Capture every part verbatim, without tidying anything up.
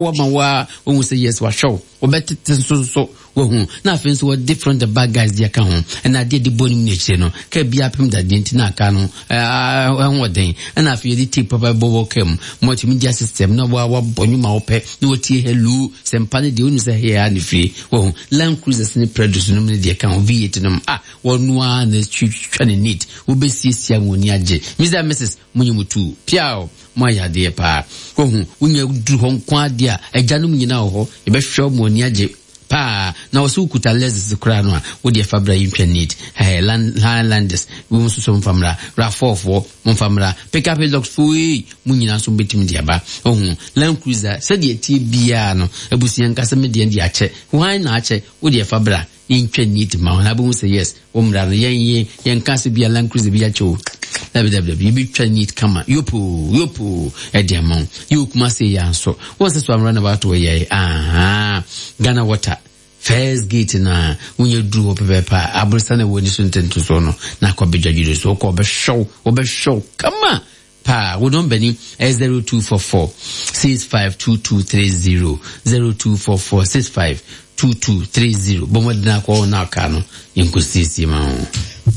Wama wa wohu sɛ yes, wahwɛ wo, wɔbɛtete nso nso wahu. Na afei nso wɔ different the bad guys deɛ ka ho, ɛna adeɛ de bɔ ne mu n'akyire no kaa bi apem dadeɛ nti na aka no ɛho ɔden. Ɛna afei yɛde tape papa bɔ wɔ kaa mu multimedia system na wa wabɔ nnwuma wɔpɛ na wɔtie hello sɛ mpa no deɛ wonu sɛ hɛɛ a ne fie wahu. Land Cruisers ne Predos nom ne deɛ ka ho, V eight nom a wɔno a na twitwa ne neat, wobɛsiesie a wɔn ani agye. Mister and Missus Mo nyɛ mo tu piaw, mo ayɛ adeɛ paa. Wahu wonya duru hɔ nko adeɛ a agyanom nyinaa wɔ hɔ, yɛbɛhwɛ mo ani agye paa. Na wɔsɛ wokuta Lexus koraa no a, wode ɛfa bra, yɛntwa neat. Hey, land Highlanders wɔn nso so mfa mmra, RAV four foɔ momfa mmra, pickup Hilux foɔ yi mo nyinaa nso mbɛtumi de aba. Ɔhu Land Cruiser sɛdeɛ tie biara no, abusua nkasa me deɛ de akyɛ hwan na akyɛ, wode ɛfa bra, yɛntwa neat ma wo na abɛhu sɛ yes, wo mmra no yɛn yɛn yɛnka sɛ bia Land Cruiser bi akyɛ o. Dabi, dabi, dabi, yɛbɛtwa neat kama yopo yopo ɛde ama wo. Yɛwɔ Kumase yɛ nso wɔn sɛ so amra na baato yɛ aha Ghana Water first gate na wonya duru hɔ pɛpɛɛpɛ a, aborosa na ɛwɔ ani so ntentosoɔ no na akɔ abɛdwa dwere so wokɔ, wɔbɛhwɛw wɔbɛhwɛw kama paa. Wo nɔmba ni ɛyɛ zero two four four six five two two three zero, zero two four four six five two two three zero. Bɔ mmɔden akɔ na aka no yɛnkɔsiesie ma wo.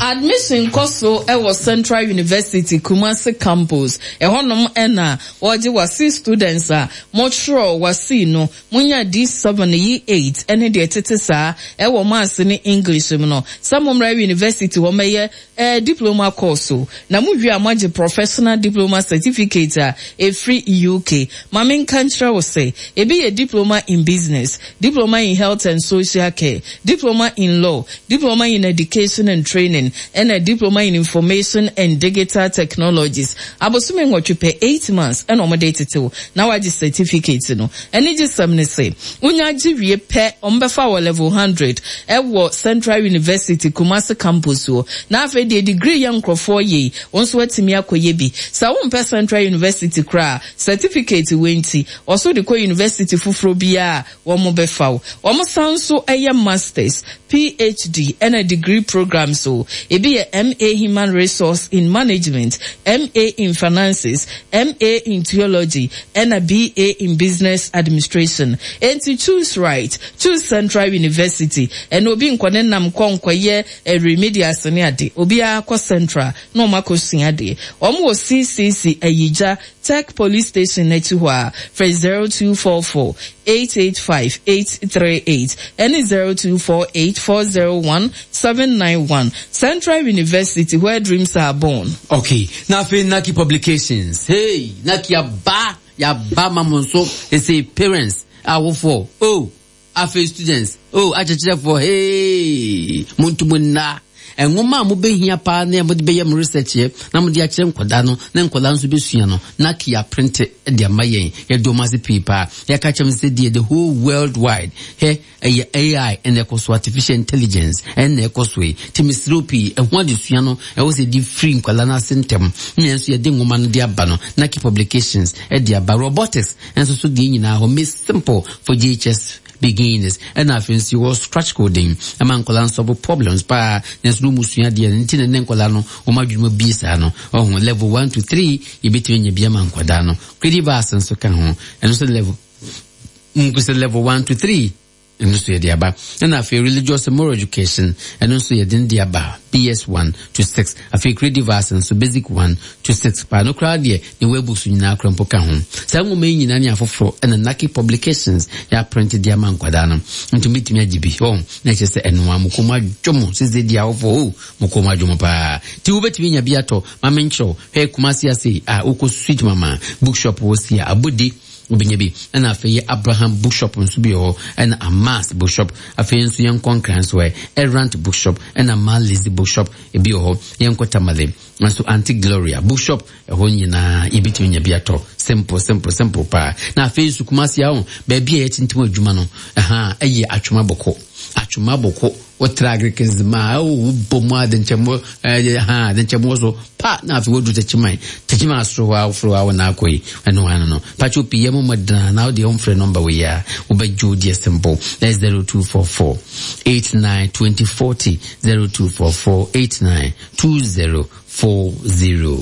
Admission kɔ so ɛwɔ Central University Kumasi Campus. Ɛhɔnom ɛna wɔgye WASSCE students a motwerɛ WASSCE no, monya D seven, E eight ɛne deɛ tete saa ɛwɔ Maths ne English mu no, sɛ mommra university hɔ mɛyɛ eh, diploma course o, na mowie a moagye professional diploma certificate a ɛfiri U K. Ma menka nkyerɛ wo sɛ ebi yɛ diploma in business, diploma in health and social care, diploma in law, diploma in education and training, ɛna diploma in information and digital technologies. Abosome nwɔtwe pɛ, eight months, ɛna ɔmode tetew na wagye certificate no. Ɛne gye sɛm ne sɛ wonya gye wie pɛ, ɔmbɛfa wɔ level hundred ɛwɔ Central University Kumasi Campus hɔ. Na afei deɛ degree yɛ nkurɔfoɔ yei, wɔn nso atumi akɔyɛ bi. Sɛ wompɛ Central University koraa, certificate wei nti ɔso de kɔ university foforɔ biara, wɔn bɛfa wo. Wɔn san nso yɛ masters, P H D ɛna degree programs o. Ebi yɛ M A Human Resource in Management, M A in Finances, M A in Theology, ɛna B A in Business Administration. Enti choose right, choose Central University. Ɛna obi nkɔ ne nam kɔ nkɔyɛ remedials ne ade, obiara kɔ Central na wɔn akɔsua adeɛ. Wɔn wɔ C C C Ayigya Tech Police Station n'akyi hɔ a, frɛ zero two four four eight eight five eight three eight ɛne zero two four eight four zero one seven nine one. Central University, where dreams are born. Okay, na afei Naki Publications, hey, Naki aba, yaba ma mo nso. Ɛsɛ parents, awofoɔ oh, afei students oh, akyerɛkyerɛfoɔ, hey, monto nna nwoma a mobɛhia paa na mode bɛyɛ mo research yɛ na mode akyerɛ nkwadaa no na nkwadaa nso bɛsua no. Naki aprint de ama yɛn, yɛde ɔmo ase pii paa. Yɛka kyerɛ m sɛ deɛ the whole world wide hɛ ɛyɛ A I ɛna ɛkɔ so, artificial intelligence ɛna ɛkɔ so yi. Nti mesrɛ pii, ɛho adesua no ɛwɔ sɛ yɛde firi nkwadaa no ase ntɛm na yɛn nso yɛde nwoma no de aba no. Naki Publications ɛde aba robotics nso so deɛ nyinaa hɔ make simple for J H S beginners. Ɛna afei nso yɛwɔ scratch coding ɛma nkwadaa nso solve problems paa, nanso no mu sua deɛ no nti na ne nkwadaa no wɔn adwuma bie saa no. Ɔho level one to three yɛbɛtumi anya bi ama nkwadaa no. Creative Arts nso ka ho, ɛno nso level nkusɛ level one to three, ɛno nso yɛde aba. Ɛna afei religious and moral education, ɛno nso yɛde no de aba B S one to six. Afei creative Arts nso basic one to six paa no koraa deɛ ne webooks nyinaa koraa mpo ka ho. Saa nwoma yi nyinaa ne afoforɔ ɛna Naki Publications yɛaprint de ama nkwadaa no, nti mbɛtumi agye bi ɔ na ɛkyerɛ sɛ ɛnoa mo kɔn mu adwo mo sese di awofoɔ o, mo kɔn mu adwo mo paa, nti wobɛtumi anya bi atɔ. Ma menkyerɛw hwɛ, Kumasi ase a wokɔ Sweet Mama Bookshop wɔ si a abodi wobɛnya bi. Ɛna afei yɛ Abraham Bookshop nso bi wɔ hɔ, ɛna Amas Bookshop. Afei nso yɛnkɔ Nkran nso ɛ Erant Bookshop ɛna Malizi Bookshop ebi wɔ hɔ. Yɛnkɔ Tamale nso, Aunty Gloria Bookshop, ɛhɔ nyinaa yɛbɛtumi nya bi atɔ. Simple, simple, simple paa. Na afei nso Kumasi aho baabi a yɛtintim adwuma no ɛha ɛyɛ Atwoma Bɔkɔ. Atwoma Bɔkɔ wotra agric ma wobɔ mu adenkyɛmmɔ ɛɛ ha adenkyɛmmɔ so pa, na afei wodu Tɛkyiman, Tɛkyiman asoro hɔ a woforo hɔ a wɔn akɔ yi ɛno ano no patro pii yɛ mo mɔdena na wode ɔmfrɛ nɔmba wei a wobɛgye wo deɛ simple, ɛyɛ zero two four four eight nine twenty forty, zero two four four eight nine two zero four zero.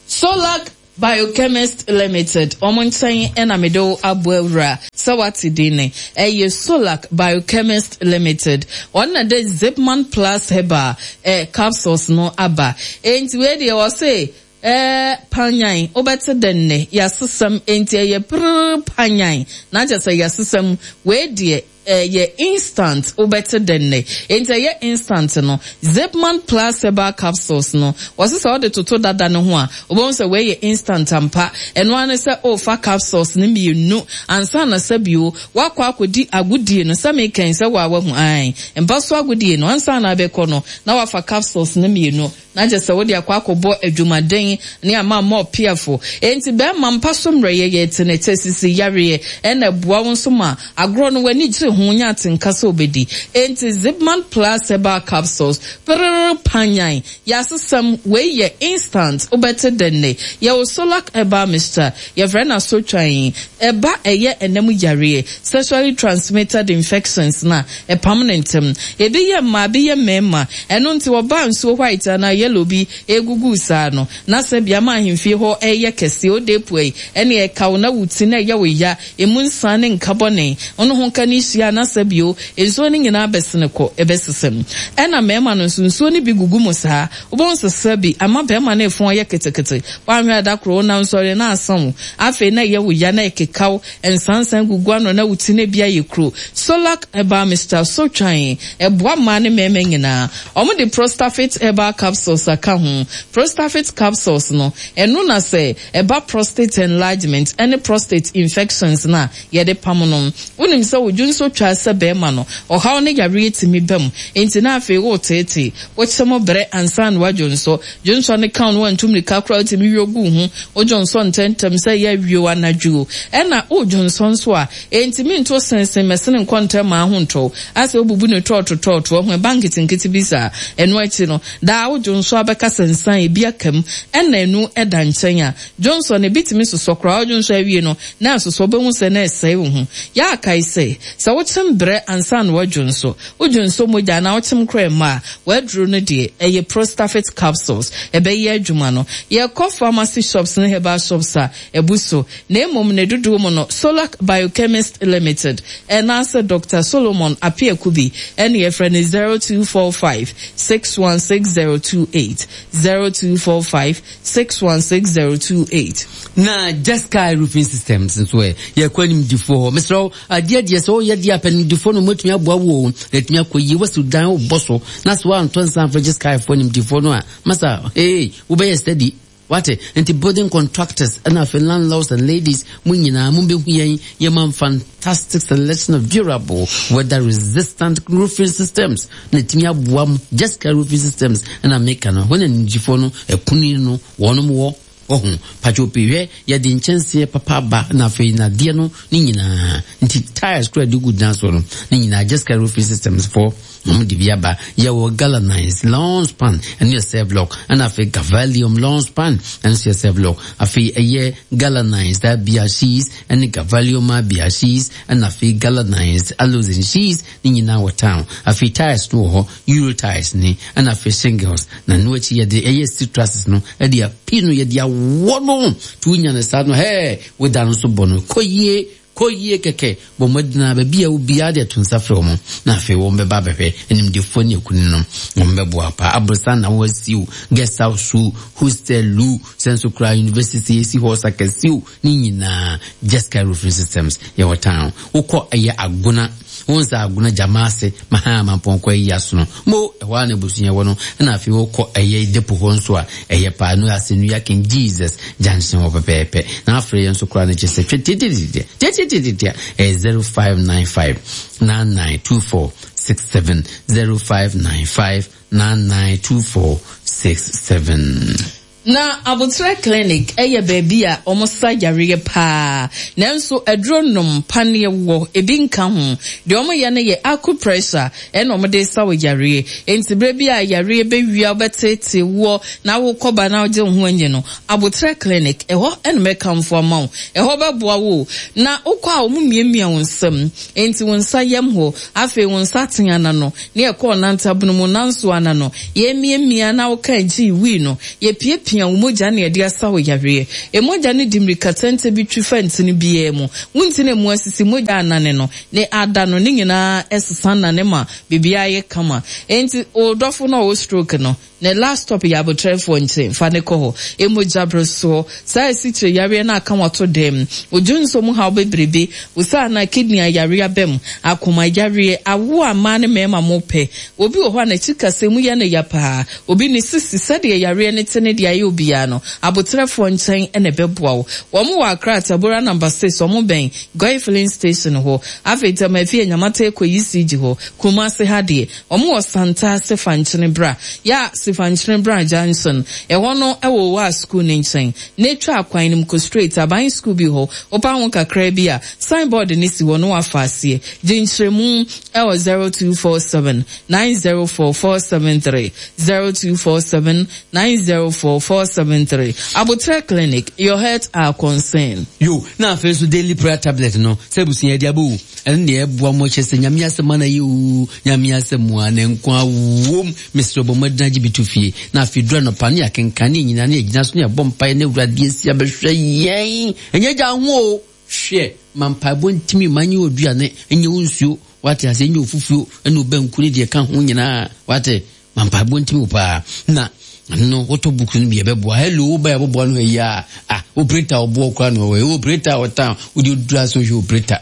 Solac. Biochemist Limited, wɔn nkyɛn na mede wo abɔ awura sɛ wate din ne. Ɛyɛ Solac Biochemist Limited. Wɔn na de Zipman Plus Herbal eh, capsules no aba. Enti wei deɛ wɔse eh, panyan, wobɛte dɛ nnɛ, yɛasesam, enti ɛyɛ prrr panyan, na kyerɛ sɛ yɛasesam, wei deɛ ɛyɛ instant, wobɛte dɛ nnɛ. Enti ɛyɛ instant no, Zipman Plus Herbal capsules no, wɔse sɛ wode toto dada no ho a, wobɛhu sɛ wei yɛ instant ampa. Ɛno ara ne sɛ wofa capsules no mmienu ansa na sɛ bio woakɔ akɔdi agodie no, sɛ mekɛn sɛ woa wahu, ae, mpa so agodie no, ansa na abɛkɔ no, na wafa capsules no mmienu. Na kyerɛ sɛ wode akɔ akɔbɔ adwumaden ne ama ama ɔpeafo. Enti bɛrima mpa so mmerɛyɛ yɛ tenetɛ sisi yareɛ ɛna ɛboa wo nso ma agorɔ no w'ani gye ho nya atenka sɛ wobɛdi. Enti Zipman Plus Herbal Capsules prrr panyan yɛasesɛm wei yɛ instant wobɛte dɛ nnɛ. Yɛwɔ Solac Herbal Mixture yɛfrɛ no asotwan ɛba ɛyɛ ɛnam yareɛ sexually transmitted infections na ɛpam ne ntɛm. Ebi yɛ mmaa ebi yɛ mmarima ɛno nti wɔba nsuo white anaa yellow bi egugu saa no na sɛ biama ahemfie hɔ ɛyɛ kɛseɛ ode pue ɛne ɛka wo na wo ti na ɛyɛ wo ya emu nsa ne nka bɔne ɔno ho nka ne hyia na sɛ bio nsuo no nyinaa bɛsene kɔ ɛbɛsesɛm. Ɛna mmarima no nso nsuo no bi gugu mu saa wobɛhu sɛ bi ama bɛrima no efun ayɛ ketekete woahwɛ ada koro na nsɔre na asa wo afei na ɛyɛ wo ya na ɛkeka wo nsansan gugu ano na wo ti na bi ayɛ kuro. Solac Herbal Mixture sotwan ɛboa mmaa ne mmarima nyinaa. Ɔmo de Prostafit Herbal Capsules aka ho. Prostafit capsules no ɛno na sɛ ɛba prostate enlargement ɛne prostate infections na yɛde pam no. Wonim sɛ wodwo nso twa sɛ bɛrima no ɔhaw ne yareɛ tumi ba mu enti na afei woteetee wokyɛ mo brɛ ansa na wadwo nso dwo nso ne ka no wantu mmirika koraa wotumi wie gu ho wodwo nso ntɛntɛm sɛ yɛ awie anadwo ɛna wodwo nso nso a enti nto sensen mɛsene nkɔ ntɛm ma ho ntɔw asɛ wobubu ne tɔɔto tɔɔto ho ɛba nketenkete bi saa ɛno akyi no daa wodwo nso abɛka sɛnsan ebi akam ɛna ɛnu ɛda nkyɛn a dwonso no ebi tumi sosɔ koraa wodwo nso awie no na asosɔ wobɛhu sɛ na ɛsɛe wo ho yɛ akae sɛ sɛ wokyem brɛ ansa na wadwo nso wodwo nso mogya na wokyem koraa mma a waduro no deɛ ɛyɛ Prostafit capsules ɛbɛyɛ adwuma no. Yɛkɔ pharmacy shops ne herbal shops a ɛbu so na mmom ne dodoɔ mu no Solac Biochemist Limited ɛnaasɛ Doctor Solomon Apiakubi ɛne yɛfrɛ no zero two four five six one six zero two eight zero two four five six one six zero two eight. Na Jesca Roofing Systems nso ɛ yɛkɔ animdifoɔ hɔ mesrɛ wo adeɛ deɛ sɛ woyɛ deɛ apɛ nimdifoɔ no mɔtumi aboa wo o na atumi akɔ yie wasi dan wobɔ so na sɛ woantɔ nsa amfa Jesca foɔ nimdifoɔ no a masa hey wobɛyɛ steady wate. Nti building contractors ɛna afei landlords and ladies mo nyinaa mo bɛhu yɛn yɛma fantastic selection of durable weather resistant roofing systems na ɛtumi aboa mo. Jesca Roofing Systems ɛna meka no hɔ na nimdifoɔ no ɛkuni no wɔnom wɔ ɔho patwo pii hwɛ yɛde nkyɛnseɛ papa aba na afei nadeɛ no ne nyinaa nti tiles kora de gu dan so no ne nyinaa Jesca Roofing Systems foɔ wɔn de bi aba. Yɛwɔ galvanized long span ɛno yɛ self lock ɛna afei galvalium long span ɛno nso yɛ self lock afei ɛyɛ galvanized abia sheets ɛne galvalium abia sheets ɛna afei galvanized aluzinc sheets ne nyinaa wɔ town. Afei tiles no wɔ hɔ euro tiles ne ɛna afei shingles na no akyi yɛde ɛyɛ steel trusses no ɛde api no yɛde awɔ no to wonya no saa no hɛɛ woda no so bɔ no kɔ yie kɔ yie kɛkɛ bɔ mmɔdena baabi a obiara de ato nsa frɛ wɔn na afei wɔn bɛba abɛhwɛ animdefoɔ ne akuni no wɔn bɛboa pa aborosan na wɔasi o guest house o hostel o sɛ nso koraa university esi hɔ sakɛse o ne nyinaa Jesca Roofing Systems yɛwɔ town. Wokɔ ɛyɛ agona wɔn sɛ agona gyama ase mahama mpɔnkɔ yi asono mo ɛhɔ a na abusua wɔ no ɛna afei wokɔ ɛyɛ depo hɔ nso a ɛyɛ paa no ase nua King Jesus junction hɔ pɛpɛɛpɛ na afei yɛn nso koraa no kyɛ sɛ twɛ tietietie tietietie ɛyɛ zero five nine five nine nine two four six seven zero five nine five nine nine two four six seven. Na Abotre Clinic ɛyɛ baabi a wɔn sa yareɛ paa nanso aduro nom paneɛ wɔ ebi nka ho deɛ wɔn yɛ no yɛ acupressure ɛna wɔn de sa wɔ yareɛ nti bere bi a yareɛ bɛwia wɔbɛtete wɔ na awokɔba na ɔgye ho anyi no Abotre Clinic ɛhɔ ɛna mɛkamfo ama wo ɛhɔ bɛboa wo na wokɔ a wɔn mmiamia wɔn nsam nti wɔn nsa yam hɔ afei wɔn nsa ten ana no ne ɛkɔ ɔnantabono mu nanso ana no yɛmiamia na wɔka gyi wii no yɛpie pia wo mogya ne yɛde asa wo yareɛ. Emogya no di mmirika tɛntɛ bi twi fa ntini biara mu. Wo ntini mu asisi mogya anane no ne ada no ne nyinaa ɛsesa nane ma biribiara yɛ kama. Enti odɔfo no a ɔwɔ stroke no, ne last stop yɛ abotrefoɔ nkyɛn, fa ne kɔ hɔ. Emogya beresoɔ, saa esikyire yareɛ no aka wato dɛm. Odwo nso mu haw bebrebe, wosaa na kidney ayareɛ aba mu, akoma yareɛ, awo a mmaa ne mmarima mo pɛ. Obi wɔ hɔ a n'akyi kasa mu yɛ no ya paa. Obi ne sisi sɛdeɛ yareɛ ne te ne deɛ ayɛ obiara no, abotrefoɔ nkyɛn na ɛbɛboa wo. Wɔn wɔ Accra Tabora number six, wɔn bɛn Goil filling station hɔ. Afei Tema Efie Nyamata ekɔ E C G hɔ. Kumasi ha deɛ, wɔn wɔ Santa Sefankyene Bra. Ya Sefankyene Bra Junction. Ɛhɔ no ɛwɔ Owa school ne nkyɛn. Na etwa akwan no mu kɔ straight aban school bi hɔ. Wopa ho kakra bi a, signboard ne si hɔ no wafa aseɛ. Gye nkyerɛmu ɛwɔ zero two four seven nine zero four four seven three, zero two four seven nine zero four four seven three. Abotre Clinic, your health our concern. Yo, na afei nso daily prayer tablet no sɛ abusua de abɔ ɛno deɛ ɛboa mo kyɛ sɛ Nyame asɛm ana yɛ o, Nyame asɛm a ne nko awom. Mesrɛ, bɔ mmɔden agye bi to fie na afei dura nɔpa ne yɛakenkan ne nyinaa ne yɛgyina so ne yɛbɔ mpaeɛ ne Awurade asi abɛhwɛ yɛn. Ɛnyɛ gya ho o, hwɛ ma mpaebɔ ntimi ma nyɛ oduane, ɛnyɛ wo nsuo, wate ase, ɛnyɛ ofufuo ɛne wo ne deɛ ka ho nyinaa, wate, ma mpaebɔ ntimi wo paa. Na no wotɔ book no bi, ɛbɛboa. Hello, wo bɛyɛ boboa no ayi a, ah, operator ɔboɔ kora no ɔwɔ operator ɔtan wode odura so hwɛ operator,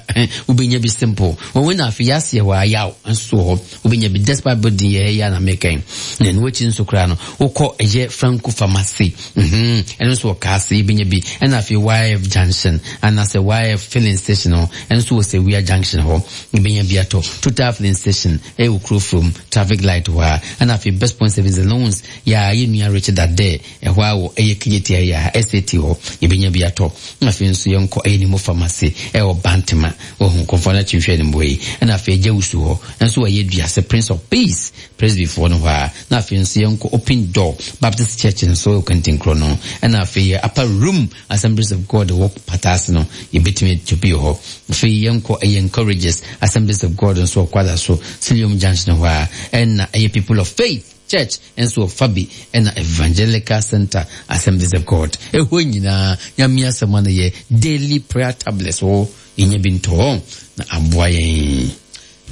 wobɛnya bi simple wɔn. Na afei yɛaseɛ hɔ ayaw nso wɔ hɔ, wobɛnya bi despite building yɛ ɛyɛ na mekɛn. Na ɛno akyi nso koraa no, wokɔ ɛyɛ Franco Pharmacy, ɛno nso wɔ Kaase, wobɛnya bi. Ɛna afei Y F Junction anaasɛ Y F filling station hɔ, ɛno nso wɔ Sewia Junction hɔ, wobɛnya bi atɔ. Total filling station ɛyɛ wɔ kuro from traffic light hɔ a. Ɛna afei Best Point Service and Loans, yɛ a yɛ nua Richard Ade ɛhɔ a wɔ ɛyɛ Kenyeti ɛyɛ a S A T hɔ, yɛbɛnya bi atɔ. Na afei nso yɛnkɔ ɛyɛ Nimo Pharmacy ɛwɔ Bantama, wɔhu kɔnfɔ no akyi hwɛ ne mboa yi. Ɛna afei agya wusu hɔ nso wɔyɛ Duase Prince of Peace Presbyfoɔ no hɔ a. Na afei nso yɛnkɔ Open Door Baptist Church nso wɔ Kantinkorɔ no. Ɛna afei yɛ Upper Room Assemblies of God wɔ Pataase no, yɛbɛtumi ato bi wɔ hɔ. Afei yɛnkɔ ɛyɛ Encourages Assemblies of God nso wɔ Kwada so Silium Junction hɔ a. Ɛna ɛyɛ People of Faith Church nso wɔ Fabi. Ɛna Evangelical Center Assemblies of God, ɛhɔ nyinaa Nyame asɛm ano yɛ daily prayer tablets wɔ, yɛnya bi ntɔ na aboa yɛn.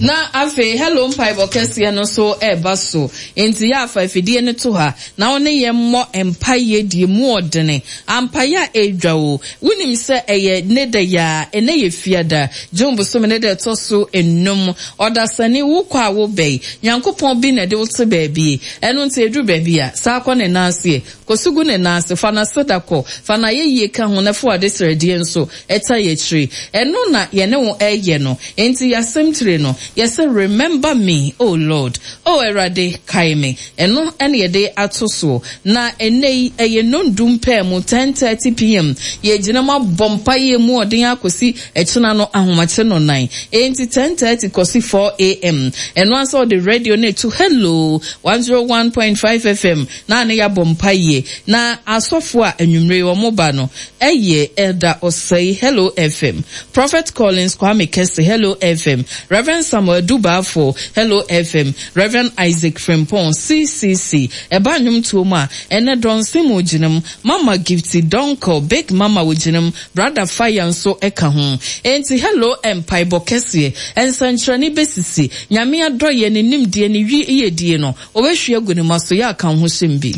Na afei hello mpaebɔ kɛseɛ no nso ɛreba so, nti yɛ afa afidie no to ha na wo ne yɛn mmɔ mpaeɛ die mu ɔdene ampaeɛ a ɛredwa o. Wonim sɛ ɛyɛ ne da yaa, ɛnɛ yɛ Fiada, June bosome ne da ɛtɔ so enum. Ɔdasani, wokɔ a wobɛyi Nyankopɔn bi na ɛde wo te baabi. Ɛno nti ɛduru baabi a saa kɔ ne nan aseɛ kɔsugu ne nan ase, fa n'aseda kɔ, fa n'ayɛyie ka ho na fa wade srɛdeɛ nso ɛta yɛ akyire. Ɛno na yɛne wo ɛyɛ no. Nti yɛasɛm tire no yɛsɛ "Remember me, O Lord", O Awurade kae me. Ɛno ɛne yɛde ato soɔ. Na ɛnɛ yi ɛyɛ nondum pɛɛ mu, ten thirty p M. Yɛgyina mu abɔ mpaeɛ mu ɔden akɔsi ɛkyena no ahomakye no nan. Enti ten thirty kɔsi four a M. Ɛno ansa ɔde radio no etu Hello one zero one point five F M na ne yɛabɔ mpaeɛ. Na asɔfo a anwummere wɔn ba no ɛyɛ Elder Osei, Hello F M, Prophet Collins Kwame Kese, Hello F M, Reverend Samuel Dubaafo, Hello F M, Reverend Isaac Frimpong, C C C. Ɛba nnwomtoɔ mu a, ɛnɛ dɔnse mu gyina mu, Mama Gifty Donko, Big Mama wɔ gyina mu, Brother Fire nso ɛka ho. Enti hello mpaebɔ kɛseɛ, nsɛnkyerɛnne bɛsisi. Nyame adɔyɛ ne nimdeɛ ne wi yɛdie no wɔbɛhwie agu ne ma so, yɛ aka ho hyɛm bi.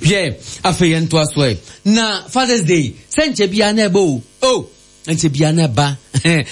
Hwɛ, afei yɛntoa so ɛ. Na Fathers Day sɛ nkyɛ biara na ɛbɔ o, o nkyɛ biara na ɛba,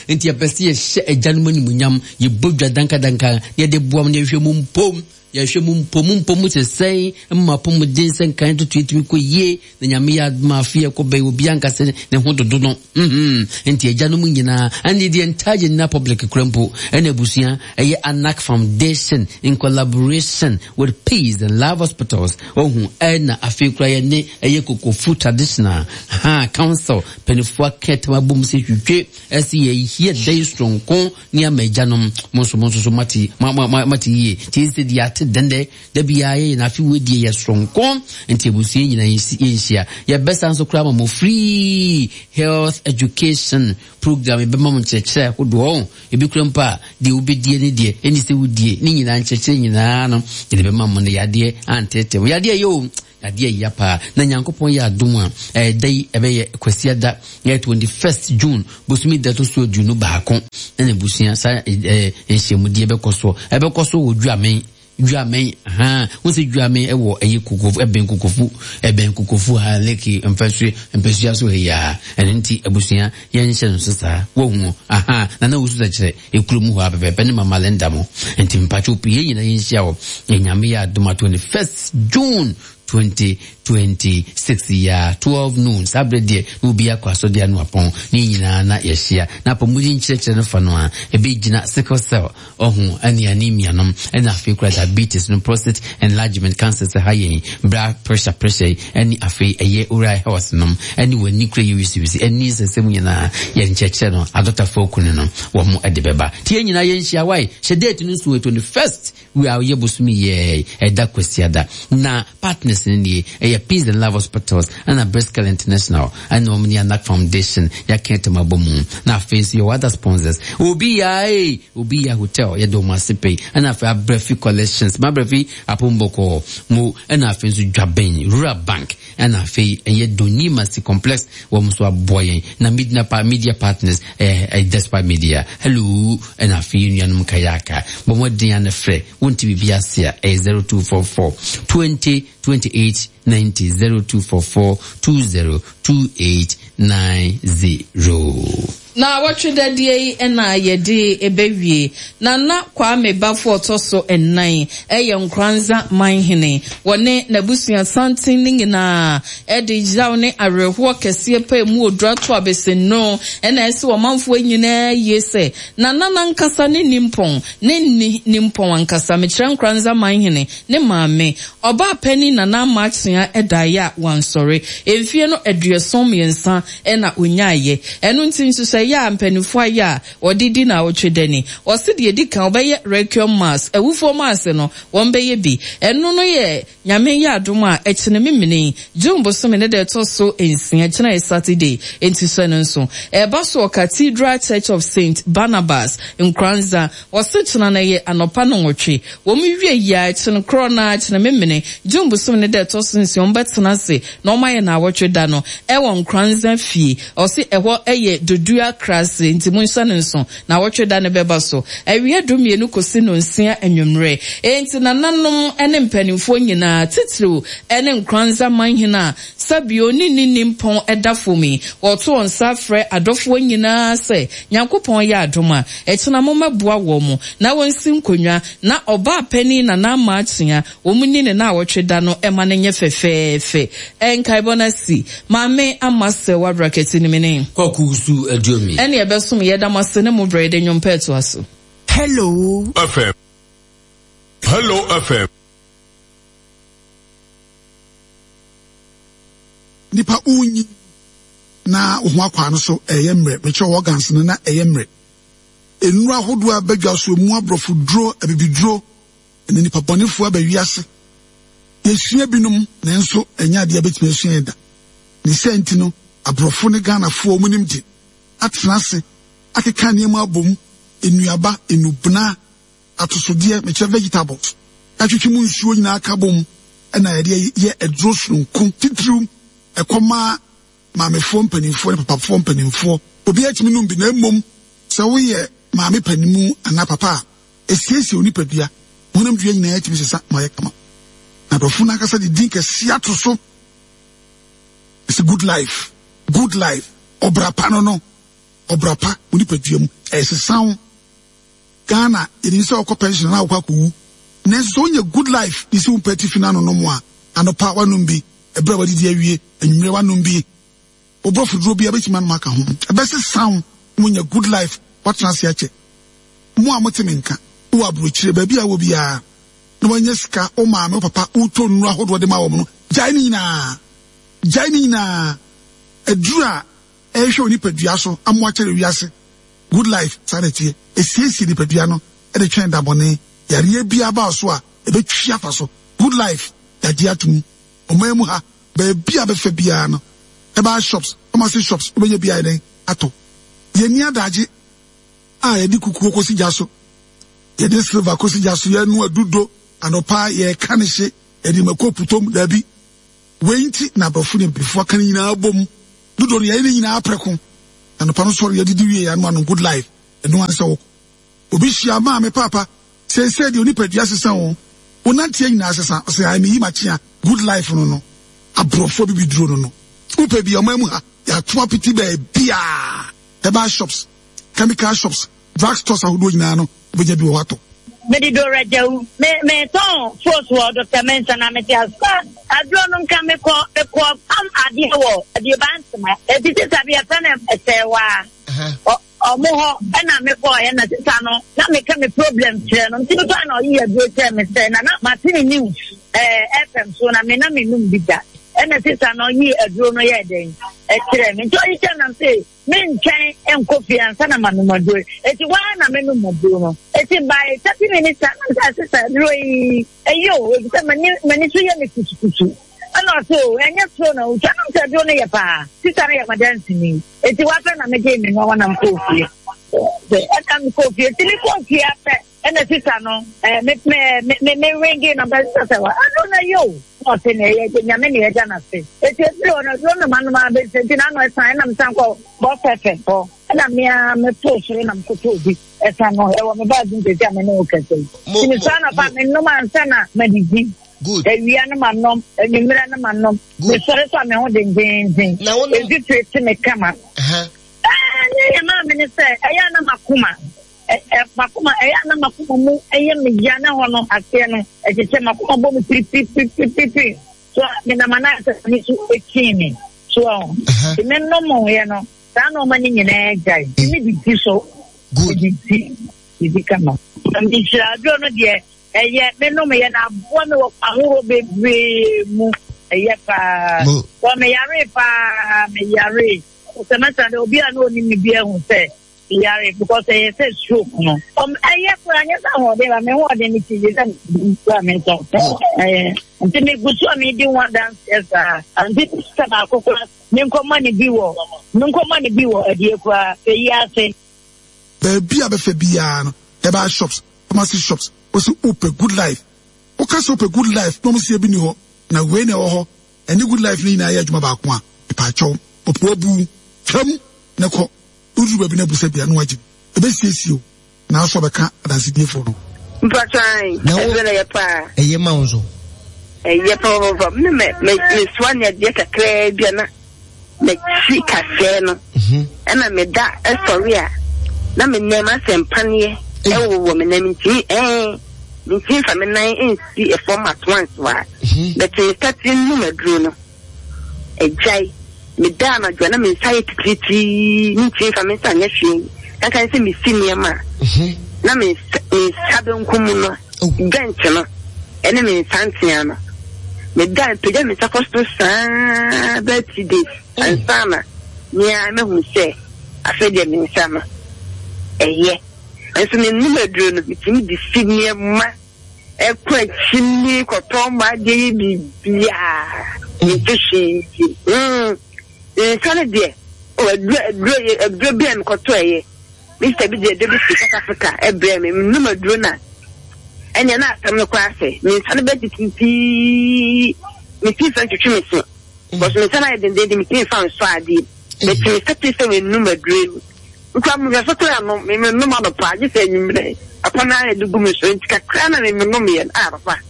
nti yɛpɛ sɛ yɛhyɛ agyanom animuonyam, yɛbɔ dwa dankadanka na yɛde boa mu na yɛhwɛ mu mpom, yɛhwɛ mu mpom mpom sɛ sɛn mma apɔmuden sɛ nkan toto yɛtumi kɔ yie. Na Nyame yɛ adom a, afei ɛkɔ bɛyɛ obi ankasa ne ho dodo no. mhm nti agyanom nyinaa ɛne deɛ entire general public kura mpo ɛna abusua ɛyɛ Anak Foundation in collaboration with Peace and Love Hospitals ɔhu. Ɛna afei kura yɛ ne ɛyɛ Kokofu Traditional ha Council mpanimfoɔ aka tam abom sɛ hwehwɛ ɛsɛ yɛyɛ dan soronko ne ama agyanom. Mo nso mo nso so mate mate yie. Nti sɛ deɛ ate dende da bia ye na afi wedie ye soronko nti abusua nyina yɛnhyia yɛbɛsa nso kora ma mo free health education program ebɛma mo nkyerɛkyerɛ ahodoɔ ebi kura mpo a deɛ wobɛdie ne deɛ ɛni sɛ wodie ne nyinaa nkyerɛkyerɛ nyinaa no yɛde bɛma mo no yadeɛ antete mo yadeɛ yɛ o yadeɛ yɛ paa na Nyankopɔn yɛ adom a ɛda yi ɛbɛyɛ Kwasiada yɛ twenty-first June bosome da to so aduonu baako na n'abusua saa nhyiamudeɛ bɛkɔ so ɛbɛkɔ so wɔ Dwamen Dwamen ha wo sɛ Dwamen ɛwɔ ɛyɛ kokofu ɛbɛn kokofu ɛbɛn kokofu ha lake mfɛsue mpɛsua so ya ɛno nti abusua yɛnhyɛ no so saa wohu aha na na wosu kyerɛ ekuro mu hɔ abɛbɛbɛ ne mama Linda mo nti mpatwo pii yɛn nyinaa yɛnhyia wɔ Nyame yɛ adom a twenty-first June twenty twenty-six ya twelve noon sabre de obi akwaso de anu apon ni nyina na yɛhyia na apɔmuden nkyerɛkyerɛ no fa no a ebe gyina sickle cell ɔho ani anemia nom ɛna afei kura diabetes no prostate enlargement cancer sɛ ha yɛn blood pressure pressure ɛne afei ɛyɛ oral health nom ɛne w'ani kura yɛ wisiwisi ɛne nsɛnsɛm nyinaa yɛ nkyerɛkyerɛ no adɔtafoɔ kunu no wɔn mo ɛde bɛba tie nyinaa yɛnhyia wae hyɛ date no nso twenty-first we are yebosumi ye ɛda Kwasiada na partners ni ɛyɛ Peace and Love Hospitals ɛna Briscoe International ɛna wɔn ni Anak Foundation yɛaka ɛtɛm abɔ mu na afei nso yɛwɔ other sponsors obi ya ee obi ya hotel yɛde wɔn ase pɛyi ɛna afei Abrɛfi Collections Mabrɛfi Apombɔkɔ mo ɛna afei nso Dwaben Rural Bank ɛna afei ɛyɛ Donimasi Complex wɔn nso aboa yɛn na media pa media partners ɛɛ ɛyɛ Despite Media hello ɛna afei nuanom kayaka bɔn wɔn den ano frɛ wonti bibi ase a ɛyɛ zero two four four twenty twenty eight ninety zero two four four two zero two eight nine zero. Na wɔtwe dadeɛ yi na yɛde ɛbɛwie na na Kwame Bafo ɔtɔ so ɛnan ɛyɛ Nkoranza manhene wɔne n'abusua santen ne nyinaa ɛde yaw ne awerɛhoɔ kɛseɛ pɛ mu odura to abɛsɛnno ɛna ɛsɛ ɔmanfoɔ nyinaa yie sɛ na nana nkasa ne nimpɔn ne ni nimpɔn ankasa mekyerɛ Nkoranza manhene ne maame ɔbaa panin nana amakyea ɛdaeɛ a wansɔre emfie no aduɔson mmiɛnsa ɛna onyaayɛ ɛno nti nso sɛ ya mpanimfoɔ ayɛ a wɔde na wɔtwe dani wɔsi deɛ di kan wɔbɛyɛ requiem mass awufoɔ mass no wɔn bɛyɛ bi ɛno no yɛ Nyame yɛ adom a ɛkyene memene June bosome ne deɛ ɛtɔ so nsia kyena yɛ Saturday enti sɛ no nso ɛba so wɔ Cathedral Church of Saint Barnabas Nkoranza wɔsi kyena no yɛ anɔpa no nwɔtwe wɔn wie yia ɛkyene korɔ na kyene memene June bosome ne deɛ ɛtɔ so nsia wɔn bɛtena ase na wɔn ayɛ na awɔtwe da no ɛwɔ Nkoranza fie ɔsi ɛhɔ ɛyɛ Dodua Krase nti mo nhyɛ no nso na wɔtwe da ne bɛba so awie du mmienu kɔsi no nsia anwummerɛ enti nananom ne mpanimfoɔ nyinaa titiriw ne Nkoranza manhene a sabio ne ne nimpɔn ɛda fam yi wɔto wɔn nsa frɛ adɔfoɔ nyinaa sɛ Nyankopɔn yɛ adom a ɛkyena mo mɛboa wɔn mo na wɔnsi nkonnwa na ɔbaa panin nana ama akyea wɔn ni ne na wɔtwe da no ɛma no nyɛ fɛfɛɛfɛ ɛnkaebɔ no asi maame ama sɛ wabrakɛti ne mene Kwaku Aduomi ɛne ɛbɛsom yɛda mo ase ne mo brɛ de nnwom pɛɛto aso. Hello F M. Hello F M. Nipa unyi na wo ho akwa no so ɛyɛ mmerɛ mekyerɛ organs no na ɛyɛ mmerɛ nnuro ahodoɔ a bɛdwa so mu aborɔfo duro abibiduro ne nipa bɔnefoɔ aba wiase yɛsua binom nanso ɛnyɛ adeɛ a bɛtumi asua yɛ da ne sɛ nti no aborɔfo ne Ghanafoɔ mu nim de atena ase akeka nneɛma abom nnuaba nnubena atosodeɛ mekyerɛ vegetables atwitwi mu nsuo nyinaa ka bom ɛna yɛde yɛ aduro sononko titiriw ɛkɔma maamefoɔ mpanimfoɔ ne papafoɔ mpanimfoɔ obi atumi nom bi na mmom sɛ woyɛ maame panimu anaa papa a esiesie wo nipadua honam dua nyinaa atumi sesa ma yɛ kama na aborɔfo no ankasa de din kɛseɛ ato so. It's a good life, good life. Ɔbra pa no no, ɔbra pa wo nipadua mu ɛsesa wo. Ghana yɛnim sɛ wokɔ pension na wokɔ akɔwu nanso sɛ wonya good life de si wo mpɛ tifi no anonom a anɔpa wanom bi ɛberɛ a wadidi awie anwummerɛ wanom bi woborɔfo duro bi a bɛtumi anom aka ho ɛbɛsesa wo na wonya good life watena ase akyɛ. Mo a mote me nka wowɔ aburokyire baabi a wɔ biara na wanya sika wo maame wo papa wotɔ nnuro ahodoɔ de ma wɔn no gyae ne nyinaa gyae ne nyinaa aduru a ɛhwɛ wo nipadua so amoa kyerɛ wiase good life saa na ɛteɛ esiesie nipadua no ɛde twɛn dabɔne yareɛ biara baa so a Ɛbɛtwi afa so. Good Life, yɛagye atom. Ɔman mu ha, baabi a bɛfa biara no, herbal shops, pharmacy shops, wobɛnya bi ayɛ dɛn atɔ. Yɛnni adagye a yɛde kukuo kɔsi gya so, yɛde silver kɔsi gya so, yɛnoa dudo anɔpa, yɛka ne hye, yɛde mako putom, daabi. Wei nti na aborɔfo ne abibifoɔ aka no nyinaa bom. Dodo no yɛyɛ ne nyinaa prɛko. Anɔpa no sɔre yɛdidi wie yɛano anom Good Life. Ɛno ara ne sɛ wokɔ. Obi hyia maame paapa, seesei deɛ onipadua sesa o, wo nanteɛ nyinaa sesa. Ɔsɛ ae meyi makyea Good Life no no. Aborɔfo abibiduro no no. Wopɛ bi a ɔman mu ha, yɛato apete baabiara. Herbal shops, chemical shops, drug stores ahodoɔ nyinaa no, wobɛnya bi wɔ hɔ atɔ. Mede Dora Gyawu. Me metɔn fos wɔ Doctor Mensah na mete asa. Aduro no nka mekɔ mekɔ pam adeɛ wɔ Aduoba Nsema. Eti sisa bi yɛfrɛ no Ɛsɛɛwaa. Ɔmo hɔ ɛna mekɔɔyɛ na sisa no na meka me problem kyerɛ no. Nti mekɔa na ɔyi aduro kyerɛ me sɛ na na mate ne news ɛɛ F M so na me na menum bi da. Ɛna sisa no ɔyi aduro no yɛɛ dɛn ɛkyerɛ me. Nti ɔyi kyerɛ nam sɛ mentwɛn nkɔ fie ansa na manom aduro. Eti waa na menom aduro no. Eti by thirty minutes time na sɛ sɛ aduro yi ɛyɛ o, efisɛ m'ani m'ani so yɛ me kusukusu. Ɛna ɔse o, ɛnyɛ soro na otwa nam sɛ aduro no yɛ paa. Sisa no yɛ madansini. Eti wafɛ na megye me nneɛma na mekɔɔ fie. Ɛna mekɔɔ fie. Eti mekɔɔ fie afɛ ɛna sisa no ɛɛ me me me me ringi na bɛ sisa sɛ wa aduro no ɛyɛ o. Na ɔse na ɛyɛ nyame na ɛgya n'ase. Eti efiri hɔ no aduro no ma nom abɛsi nti n'ano ɛsan ɛna mesan kɔ bɔ fɛfɛ hɔ. Ɛna mmea meto soro na mekɔtɔ obi ɛsan no ɛwɔ me baagi ntɛsi a me ne wo kɛse yi. Nti mesɔre anɔpa menom ansa na madidi. Awia no ma nom, anwummerɛ no ma nom. Mesɔre so a me ho dendenden. Mfifire te me kama. Ɛɛ ne yɛ maa me ne sɛ ɛyɛ ana makoma. Makoma ɛyɛ ana makoma mu ɛyɛ me ya na hɔ no aseɛ no ɛkyekyɛ makoma bɔ me piripiripiripiri. So menam anaasɛ me so ekyi me. So ɔho. Me nom yɛ no saa na ɔma ne nyinaa gyae. Me didi so. Didi didi kama. Nhyira aduro no deɛ ɛyɛ me nom yɛ na aboa me wɔ ahorow bebree mu. Ɛyɛ paa. Wɔ me yare paa me yare. Sɛmɛsa de obi a na onim me bi ahu sɛ me yare because ɛyɛ sɛ stroke no. Ɔm ɛyɛ koraa nyɛ sɛ ahoɔden ba me ho ɔden me ti sɛ kura me nsɔ. Ɛyɛ nti me gu so a me di ho adanseɛ saa. Nti sɛ baako koraa me nkɔma ne bi wɔ me nkɔma ne bi wɔ adie koraa eyi ase. Baabi a bɛfɛ biara no, herbal shops, pharmacy shops, wɔsi wopɛ Good Life. Woka sɛ wopɛ Good Life na wɔn si ebi ni hɔ na wei na ɛwɔ hɔ. Ɛne Good Life no nyinaa yɛ adwuma baako a mepaakyɛw ɔpo abu twam ne kɔ woduru baabi na abusa bia na wagye bi ebesiesie o na asɔ bɛka adansediefoɔ no. Mpatwan, ɛduro no yɛ paa. Ɛyɛ ma wo nso. Ɛyɛ papaapa. Me me me mesoa ne adeɛ kakraa bi a na mekyi kasɛɛ no. Ɛna meda ɛsɔre a na me nan asɛ mpaneɛ ɛwowɔ me nan ntumi ɛɛ ntumi nfa me nan nsi ɛfam at once wa. Bɛte me start num aduro no. Ɛgyae. Meda anadwo na me nsa yɛ titiritii ntumi nfa me nsa nyɛ hwee. Kankan sɛ mesi nneɛma a na me nsa me nsa benkum no joint no ɛne me nsa ntea no. Meda mpagya me nsa kɔ soro saa bɛyɛ three days ansa na nea mehu sɛ afei deɛ me nsa no ɛyɛ. Nso me num aduro no metumi de si nneɛma ɛkɔ akyi ne kɔtɔn ma adeɛ yɛ biribiara nti hwee. Mm nsa no deɛ aduro aduro aduro bi a mekɔtɔ ɛyɛ. Mister bi de aduro bi fi South Africa ɛbrɛ me menum aduro na ɛnea na asɛm no koraa sɛ me nsa no bɛ titiritii me ti nfa ntwitwi me se because me nsa no ayɛ dendenden me ti nfa nsɔ adeɛ meti me nsa ti sɛ menum aduro yi nkura mo hwɛ so koraa no me menum anɔpa agye sɛ anwummerɛ papa no ayɛ de gu me so nti kakra na me menum yɛ ah papa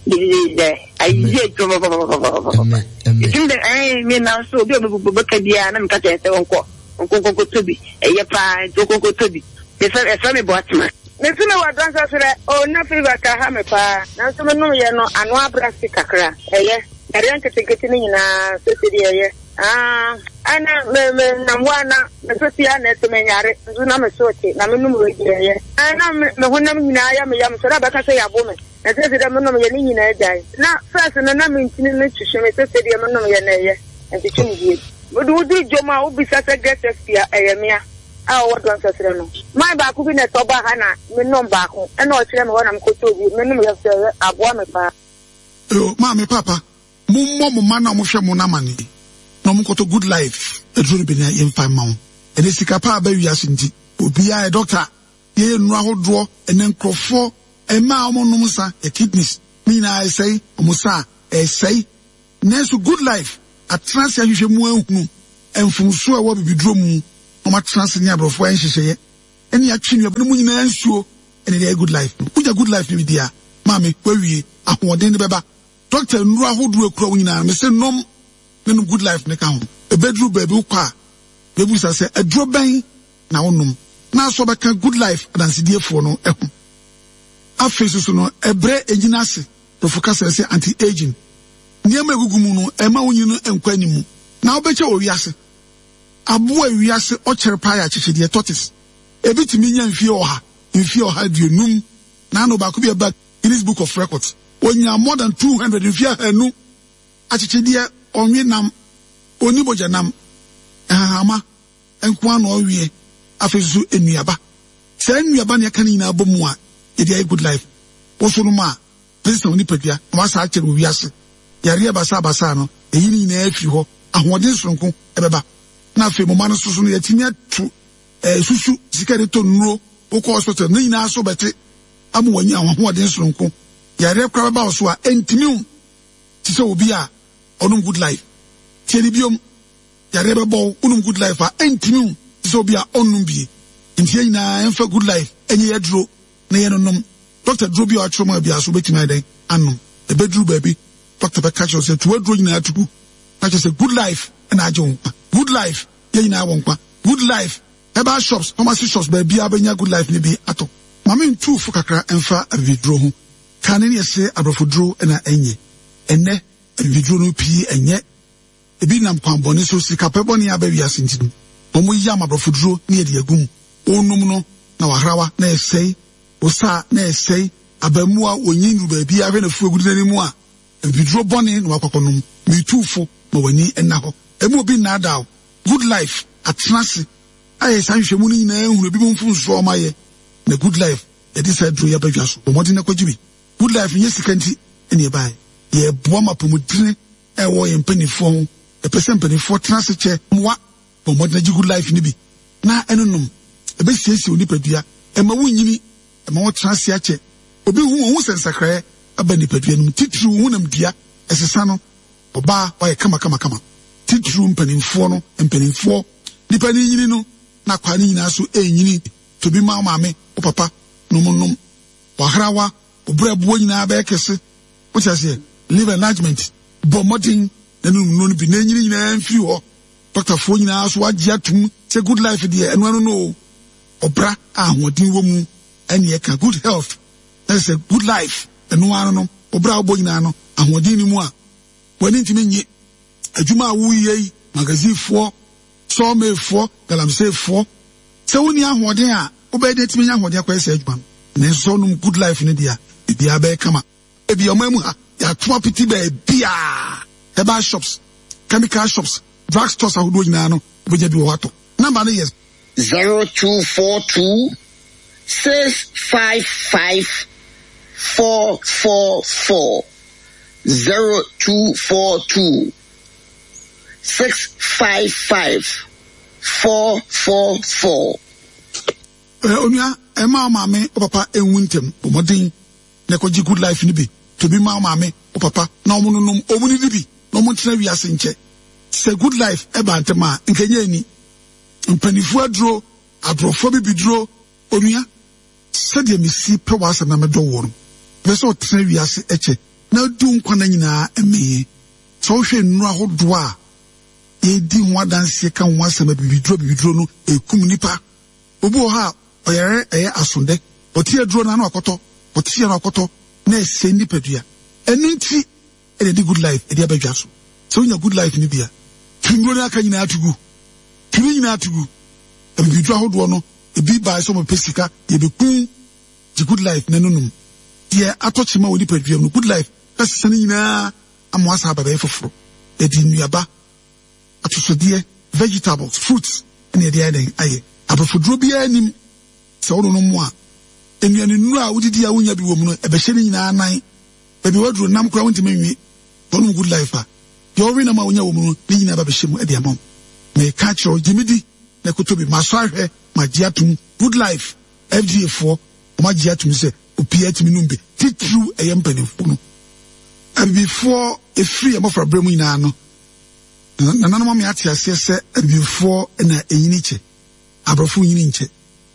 dededede ayɛ adwuma papapapapapa ɛtumi dɛ ɛn me nam so obi a ɔbɛka biara na meka kyerɛ sɛ wɔnkɔ nkonkonkoto bi ɛyɛ paa nti nkonkonkoto bi mefɛ ɛfɛ me bɔ atema. Mesi me wɔ dɔnsa so dɛ o na fever ka ha me paa nanso me nom yɛ no ano abra si kakra ɛyɛ yareɛ nketenkete no nyinaa sese deɛ ɛyɛ ah ɛna me me nam hɔ a na me so tia na ɛte me nyare nso na me so te na me nom wei deɛ ɛyɛ ɛna me me honam nyinaa yɛ me yam so na bɛka sɛ yɛabo me na sese dɛ me nom yɛ ne nyinaa gyae na first no na me ntini no twehwe me sese deɛ me nom yɛ na ɛyɛ ntwetwe me bie. Mede woduru dwom a wobisa sɛ get S P a ɛyɛ mea. a ɔwɔ dɔnsɛsrɛ no. Man baako bi na ɛtɔ ba ha na menom baako ɛna ɔkyerɛ me hɔ na mekɔtɔ bi menom yɛ sɛ aboa me paa. Yo, maame papa, mommɔ mo mma na mohwɛ mo n'amane na ɔmo Good Life aduro no bi na yɛmfa mma wo. Ɛnɛ sika pa aba wiase nti obiara yɛ dɔkta, yɛyɛ nnuro ahodoɔ. Ɛnɛ nkurɔfoɔ mmaa a wɔnom nsa yɛ kidneys ne nyinaa ɛsɛe, ɔmo sa a ɛsɛe. Nanso Good Life atena ase ahwehwɛ mu ahunu mfomsoɔ a ɛwɔ bibiduro mu na ɔmo atena ase ne aborɔfoɔ ayɛ nhyehyɛeɛ ɛne atwe nnuaba no mu nyinaa nsuo ɛne ɛyɛ Good Life no. Wogya Good Life no bi di a, maame, wawie, ahoɔden no bɛba. Dɔkta nnuro ahodoɔ ekura wo nyinaa mese nom ne nom Good Life ne ka ho. Ebeduru baabi wokɔ a, bɛbusa sɛ aduro bɛn na wonom na asɔ bɛka Good Life adansediefoɔ no ho. Afei soso no, ɛbrɛ egyina ase, borɔfo kasa sɛ anti-aging. Nneɛma egugu mu no, ɛma wo nyini no nkɔ anim na wobɛkyɛ wɔ wiase. Aboa wiase ɔkyɛre paa yɛ akyekyedeɛ, tortoise. Ebi tumi nya mfie ɔha, mfie ɔha aduonum. Na ano baako bi ɛba Guinness Book of Records, onya more than two hundred, mfie ahanu. Akyekyedeɛ ɔnwe nam, onni mogya nam, ɛhahama nko ara na ɔweɛ. Afei nso nnuaba. Saa nnuaba na yɛka ne nyinaa bɔ mu a yɛde ayɛ Good Life. Woso no ma a bɛsesa wo nipadua na wasa akyerɛ wɔ wiase. Yareɛ basabasa no, ɛyi ne nyinaa afiri hɔ. Ahoɔden soronko ɛbɛba. Na afei mo mma no nso so no, yɛatumi ato ɛɛ susu sika de tɔ nnuro, wokɔ hospital ne nyinaa so bɛte ama wɔanya ahoɔden soronko. Yareɛ koraa bɛba wo so a ɛntumi wo te sɛ obi a ɔnom Good Life. Tie ne biom, yareɛ bɛbɔ wo, wonom Good Life a ɛntumi wo te sɛ obi a ɔnnom bie. Nti yɛn nyinaa yɛmfa Good Life ɛnyɛ yɛ duro na yɛnonom. Dɔkta duro bi a ɔatwerɛ ma biara so wobɛtumi ayɛ dɛn anom. Ɛbɛduru baabi, dɔkta bɛka kyerɛ wo sɛ tu aduro nyinaa to gu na kyerɛ sɛ Good Life ɛna agye wo nkwa. Good Life, yɛn nyinaa wɔ nkwa. Good Life, herbal shops, pharmacy shops, baabiara bɛnya Good Life no bi atɔ. Maame ntu fo kakra mfa abibiduro ho. Kane ne yɛse aborɔfo duro na ɛnyɛ. Ɛnnɛ abibiduro no pii ɛnyɛ. Ebi nam kwan bɔne so, sikapɛ bɔne aba wiase nti no, wɔn yam aborɔfo duro ne yɛde agu mu. Wonom no na wahrawa na ɛsɛe, wosa na ɛsɛe. Abaamua onyin duru baabi ahwɛ na fu agu n'anim a, abibiduro bɔne na wakɔkɔ nom. Metu fo ma w'ani nna hɔ. Emu obi nnaadaa wo. Good Life atena ase ayɛ saa nhwehwɛmu no nyinaa ehunu ebi mu mfomsoɔ a wɔn ayɛ na Good Life yɛde saa duro yi aba dwa so. Bɔ mmɔden na kɔgye bi. Good Life nyɛ sika nti ɛna ɛbaeɛ. Yɛboa ma apɔmuden ɛwɔ yɛn mpanimfoɔ ho. Yɛpɛ sɛ mpanimfoɔ tena ase kyɛ mmoa. Bɔ mmɔden agye Good Life no bi na ɛno nom. Ɛbɛsiesie wo nipadua. Ɛma wo nyini, ɛma wo tena ase akyɛ. Obi hu ohun sɛ nsakraeɛ aba nipadua no mu. Titiriw honam dua ɛsesa no. Ɔbaa wayɛ kama kama kama. Titiriw mpanimfoɔ no, mpanimfoɔ nipa ne nyini no na akwaa ne nyinaa so ɛnyini. Tobi ma wo maame, wo papa nom nom. Wahrawa, wo brɛboɔ nyinaa bɛyɛ kɛse. Wote aseɛ? Liver enlargement. Bɔ mmɔden na nom nnuro no bi na ɛnyini nyinaa mfiri hɔ. Dɔktafoɔ nyinaa so agye atum sɛ Good Life deɛ ɛno ano no o. Ɔbra a ahoɔden wɔ mu ɛne ɛka good health. Na sɛ Good Life ɛno ano no, ɔbra a wobɔ nyinaa no ahoɔden ni mu a w'ani ntumi nye. Adwuma a woyɛ yi, magazinefoɔ, sawmillfoɔ, galamseyfoɔ, sɛ wonni ahoɔden a wobɛyɛ de atumi anya ahoɔden akɔyɛ saa adwuma no. Nanso sɛ wonom Good Life no deɛ a, biribiara bɛyɛ kama. Ebi ɔman mu ha, yɛato apete baabiara. Herbal shops, chemical shops, drug stores ahodoɔ nyinaa no, wobɛnya bi wɔ hɔ atɔ. Number no yɛ zero two four two six five five four four four, zero two four two six five five four four four. Eh, onua, ɛma wo maame, wo papa enwu ntɛm. Bɔ mmɔden na ɛkɔgye Good Life no bi. To bi ma wo maame, wo papa na ɔmo nonom, ɔmo nidi bi na ɔmo ntena wiase nkyɛ. Sɛ Good Life ɛba ntɛm a, nkɛnyɛ ani. Mpanimfoɔ aduro, aborɔfoɔ bibiduro. Onua, sɛdeɛ mesi pɛ w'asɛm na medɔ woɔ no, mepɛ sɛ ɔtena wiase ɛkyɛ na adi wo nkwa nna nyinaa mmee. Sɛ wohwɛ nnuro ahodoɔ a yɛdi ho adanseɛ ka ho asɛm, abibiduro abibiduro no ɛkum nipa. Obi wɔ hɔ a ɔyare ɛyɛ asondɛ, ɔte aduro no ano akɔtɔ, ɔte ano akɔtɔ na ɛsɛe nipadua. Ɛno nti ɛna ɛde Good Life ɛde aba dwa so. Sɛ wonya Good Life no bi a, tu nnuro no aka nyinaa to gu. Tu ne nyinaa to gu. Abibiduro ahodoɔ no, ebi baa sɛ wɔpɛ sika, yɛbɛku. Gye Good Life na ɛno nom. Deɛ atɔ kyema wɔ nipadua mu no, Good Life bɛsesa ne nyinaa ama wasa aba bɛyɛ foforɔ. Yɛde nnuaba, atosodeɛ, vegetables, fruits ɛna yɛde ayɛ dɛn ayɛ. Aborɔfoduro biara nnim. Sɛ wononom a, nnuanennuro a wodidi a wonnya bi wɔ mu no, ɛbɛhyɛ ne nyinaa nan. Baabi a woaduro nam koraa wontumi nwe. Sɛ wonom Good Life a, deɛ wowe nam a wonya wɔ mu no, ne nyinaa ba bɛhyɛ mu de ama wo. Meka akyerɛ wo, gye me di na kɔtɔ bi. Masɔ ahwɛ, magye atom. Good Life, F D A foɔ, wɔagye atom sɛ obiara tumi nom bi, titiriw ɛyɛ mpanimfoɔ no. Abibifoɔ, ɛfiri yɛn mmɔfraberɛ mu nyinaa no, nananom ama yɛate aseɛ sɛ abibifoɔ na ɛnyini kyɛ, aborɔfo nyini nkyɛ.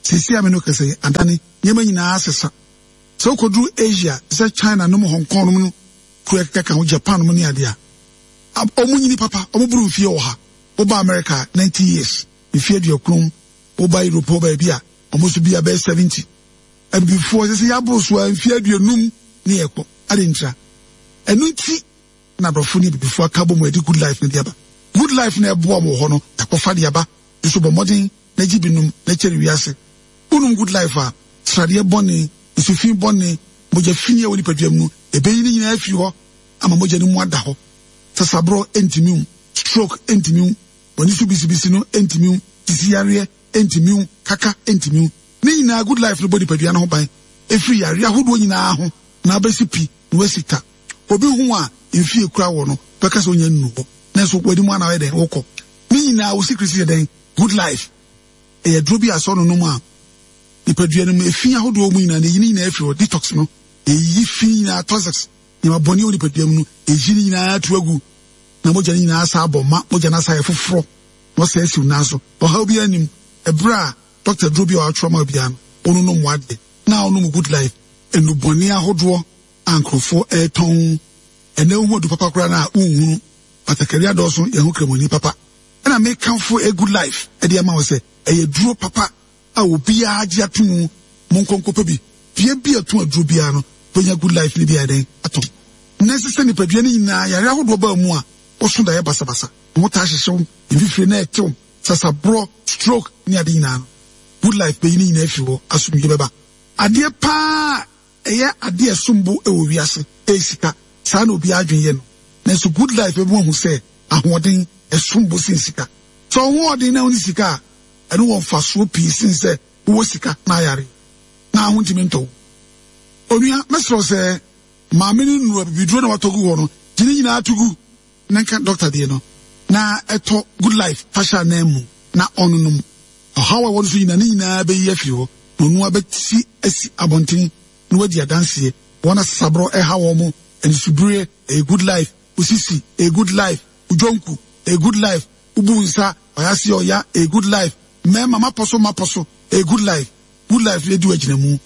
Seesei a me ne wo kasa yi, adane, nneɛma nyinaa asesa. Sɛ wokɔduru Asia, te sɛ China nom, Hong Kong nom no, kuro ɛkeka ka ho, Japan nom ne adeɛ a, wɔn nyini papa, wɔn boro mfie ɔha. Woba America, ninety years, mfie aduokron. Woba Europe hɔ baabi a, wɔn nso bi abɛyɛ seventy. Abibifoɔ sɛ sɛ yɛaboro so a, mfie aduonum ne yɛkɔ ade ntira. Ɛno nti na aborɔfo ne abibifoɔ aka bɔ mu ɛde Good Life no de aba. Good Life no ɛboa wɔ hɔ no, yɛakɔfa de aba nso. Bɔ mmɔden na gye binom na kyɛre wiase. Wonom Good Life a, sradeɛ bɔne, nsufi bɔne, mogya fi a ɛwɔ nipadua mu no, ɛbɛyi ne nyinaa afiri hɔ ama mogya no mu ada hɔ. Sasaborɔ ntumi wo, stroke ntumi wo, w'ani so bisibisi no ntumi wo, sisi yareɛ ntumi wo, kaka ntumi wo. Ne nyinaa Good Life no bɔ nipadua no ho ban ɛfiri yareɛ ahodoɔ nyinaa ho na abɛsi pi na wasi ta. Obi ho a mfie kura wɔ no bɛka sɛ onya nnu hɔ, nanso w'anim ana ɔyɛ dɛn wokɔ. Ne nyinaa wo secret yɛ dɛn? Good Life ɛyɛ duro bi a sɛ ɔno nom a, nipadua no mu efi ahodoɔ mu nyinaa na eyi ne nyinaa afiri hɔ. Detox no, eyi fi nyinaa, toxics, nneɛma bɔne wɔ nipadua mu no, eyi ne nyinaa to agu na mogya no nyinaa asa abɔ ma mogya no asa yɛ foforɔ na ɔsɛ asiw nan so. Ɔhaw bi anim ɛberɛ a dɔkta duro bi a watwerɛ ma obiara no, ɔnonom wadeɛ na ɔnom Good Life. Nnubɔne ahodoɔ a nkurɔfoɔ ɛretɔn ɛnɛ, wohu adu papa koraa no a wonhunu batakari adɔɔso. Yɛn ho kramoni papa ɛna mekamfo a Good Life ɛde ama wo sɛ ɛyɛ duro papa a obiara gye ato mu. Monkɔnkɔpɛ bi bea bi a ɛto aduro biara no, bɛnya Good Life no bi a ɛdɛn atɔ. Na ɛsɛ sɛ nipadua no nyinaa yare ahodoɔ baa mu a woso daeɛ basabasa, ho taa hyehyew, mfifire na ɛtew, sasaborɔ, stroke ne ade nyinaa no, Good Life bɛyi ne nyinaa afiri hɔ. Asomdwe bɛba. Adeɛ paa ɛyɛ adeɛ ɛsombo ɛwɔ wiase ɛyɛ sika. Saa na obiara adwene yɛ no, nanso Good Life bɛbi wahu sɛ ahoɔden ɛsombo sen sika. Sɛ ɔhoɔden na wone sika a, ɛno wɔ mfasoɔ pii sen sɛ wowɔ sika na ayare na aho ntumi ntɔ wo. Onua, mɛsrɛ sɛ maame no nnuro abibiduro na watɔ gu hɔ no, gye ne nyinaa to gu na nka dɔkta deɛ no na ɛtɔ Good Life fa hyɛ anan mu na ɔnonom. Ɔhaw a ɛwɔ no so nyinaa, ne nyinaa bɛyi afiri hɔ na ɔno abɛsi asi abɔnten na wadi adanseɛ. Wɔn asasaborɔ ɛha wɔn mo, anisubire, ɛyɛ Good Life. Osisi, ɛyɛ Good Life. Odwonku, ɛyɛ Good Life. Ubu nsa ɔyase ɔya, ɛyɛ Good Life. Mmarima mapɔ so mapɔ so, ɛyɛ Good Life. Good Life yɛ di wɔ agyina mu.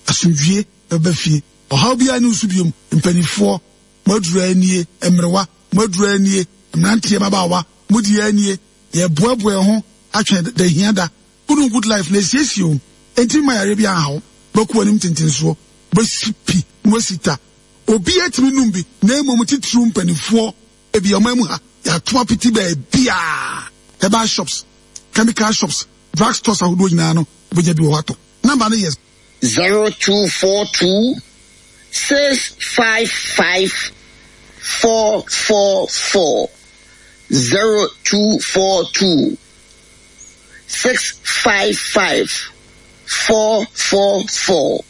Asomdwie bɛba fie, ɔhaw biara ne nso biom. Mpanimfoɔ mo aduru anie, mmerewa mo aduru anie, mmeranteɛ, mmabaawa mo di anie. Yɛboaboa yɛn ho atwɛn da hia da. Wonu Good Life na esiesie o, enti mma yareɛ bi anhaw. Bɛkɔ anim tentensoɔ, bɛsi pi na wasi ta. Obiara tumi num bi, na mmom titiriw mpanimfoɔ. Ebi ɔman mu ha, yɛato apete baabiaa, herbal shops, chemical shops, drug stores ahodoɔ nyinaa no, wobɛnya bi wɔ hɔ atɔ. Number no yɛ zero two four two six five five four four four, zero two four two six five five four four four.